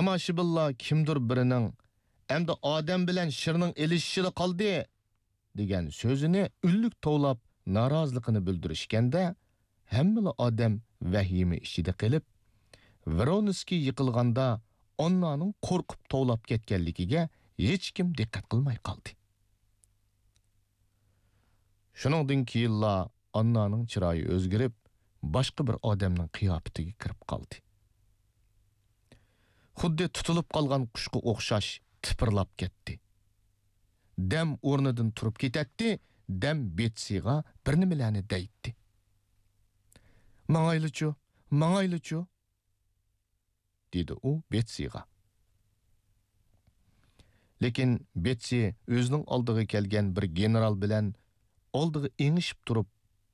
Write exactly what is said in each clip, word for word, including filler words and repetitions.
تاماشىبىنلار كىمدۇر بىرىنىڭ «ئەمدى ئادەم بىلەن شىرنىڭ ئېلىشىشىلا قالدى» دېگەن سۆزىنى ئۈنلۈك توۋلاپ نارازىلىقىنى بىلدۈرۈشكەندە، ھەممىلا ئادەم ۋەھىمە ئىچىدە قېلىپ، ۋرونسكىي يىقىلغاندا ئاننانىڭ قورقۇپ توۋلاپ كەتكەنلىكىگە ھېچكىم دىققەت قىلماي قالدى. شۇنىڭدىن كېيىنلا ئاننانىڭ چىرايى ئۆزگىرىپ، باشقا بىر ئادەمنىڭ قىياپىتىگە كىرىپ قالدى. خۇددى تۇتۇلۇپ قالغان قۇشقا ئوخشاش تىپىرلاپ كەتتى. دەم ئورنىدىن تۇرۇپ كېتەتتى، دەم بېتسىغا بىر نېمىلەرنى دەيتتى. «ماڭايلىچۇ، ماڭايلىچۇ؟» دېدى ئۇ بېتسىغا. لېكىن بېتسى ئۆزىنىڭ ئالدىغا كەلگەن بىر گېنېرال بىلەن ئالدىغا ئېڭىشىپ تۇرۇپ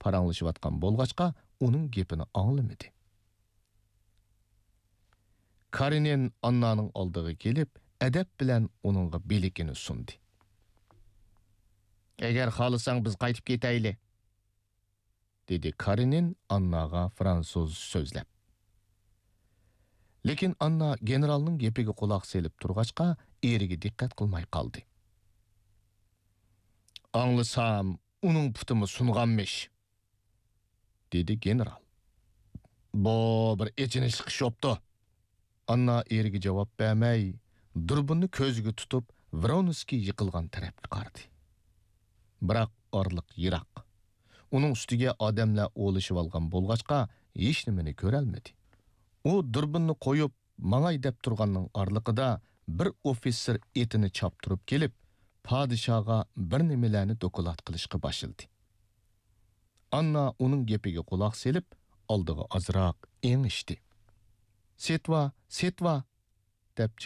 پاراڭلىشىۋاتقان بولغاچقا، ئۇنىڭ گېپىنى ئاڭلىمىدى. كارېنىن ئاننانىڭ ئالدىغا كېلىپ، ئەدەپ بىلەن ئۇنىڭغا بىلىكىنى سۇندى. «ئەگەر خالىساڭ، بىز قايتىپ كېتەيلى»، دېدى كارېنىن ئانناغا فرانسۇزچە سۆزلەپ. لېكىن ئاننا گېنېرالنىڭ گېپىگە قۇلاق سېلىپ تۇرغاچقا، ئېرىگە دىققەت قىلماي قالدى. «ئاڭلىسام، ئۇنىڭ پۇتىمۇ سۇنغانمىش»، دېدى گېنېرال. «بۇ بىر ئېچىنىشلىق ئىش بوپتۇ.» ئاننا ئېرىگە جاۋاب بەرمەي، دۇربۇننى كۆزىگە تۇتۇپ، ۋرونسكىي يىقىلغان تەرەپكە قارىدى. بىراق ئارىلىق يىراق. ئۇنىڭ ئۈستىگە ئادەملەر ئولىشىۋالغان بولغاچقا، ھېچنېمىنى كۆرەلمىدى. ئۇ دۇربۇننى قويۇپ، ماڭاي دەپ تۇرغاننىڭ ئارىلىقىدا بىر ئوفىتسېر ئېتىنى چاپتۇرۇپ كېلىپ، پادىشاھقا بىر نېمىلەرنى دوكلات قىلىشقا باشلىدى. ئاننا ئۇنىڭ گېپىگە قۇلاق سېلىپ، ئالدىغا ئازراق ئېڭىشتى. «سېتىۋا، سېتىۋا!» دەپ